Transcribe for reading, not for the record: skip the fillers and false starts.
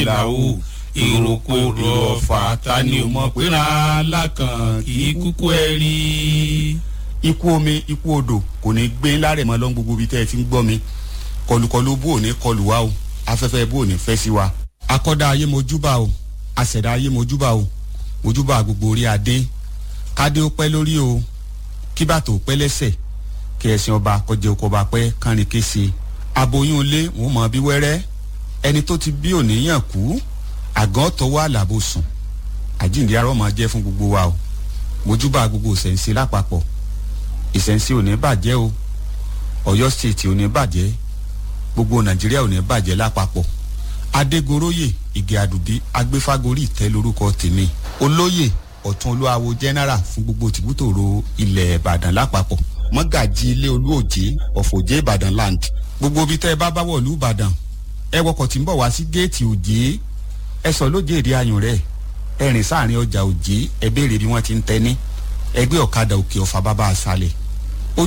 ìlàwó ìròkò èrò ọ̀fà ta ni ò mọ̀ pé ra lákàn kì í kúkú ẹ rí. Ikú omi, ikú odò kò ní gbé ńlá rẹ̀ mọ́ lọ́n. Gbogbo ibi tẹ́ ẹ ti ń gbọ́ mi, kọlùkọlù bó ò ní kọlù wa o, afẹ́fẹ́ bó ò ní fẹ́ sí wa. Akọ́dá ayé, mojúbà o. Àṣẹ̀dá ayé, mojúbà o. Mojúbà gbogbo orí adé. Kádé ó pẹ́ lórí o, kí bàtò pẹ́ lẹ́sẹ̀, kí ẹ̀sìn ọba kọjá oko ọba pẹ́ kánrin kése. Aboyún ilé wọn mọ̀ bí wẹ́rẹ́, ẹni tó ti bí òníyàn kú, àgọ́ tọwọ́ àlàbò sùn. Àjíǹde arọ́ máa jẹ́ fún gbogbo wa o. Mojúbà gbogbo ìṣẹ̀ǹsẹ̀ lápapọ̀. Ìṣẹ̀ǹsẹ̀ ò ní bàjẹ́ o, Ọ̀yọ́ State ò ní bàjẹ́, gbogbo Nàìjíríà ò ní bàjẹ́ lápapọ̀. Adégoróyè Ìgè Àdùbí Agbéfágorí ìtẹ́ lórúkọ tèmi, olóyè ọ̀tún olúwawo general fún gbogbo tìbútòrò ilẹ̀ Ìbàdàn lápapọ̀, mọ́gàjì ilé olúòjé ọ̀fọ̀jẹ́ Ìbàdàn land. Gbogbo ibi tẹ́ ẹ bá bá wọ̀lú Ìbàdàn, ẹ wọkọ̀ tí ń bọ̀ wá sí géètì Òjé, ẹ sọ lójé èdè ayùn rẹ̀, ẹ rìn sáàrin ọjà Òjé, ẹ béèrè bí wọ́n ti ń tẹ́ ní ẹgbẹ́ ọ̀kadà Òkè Ọ̀fà bàbá àṣàlẹ̀.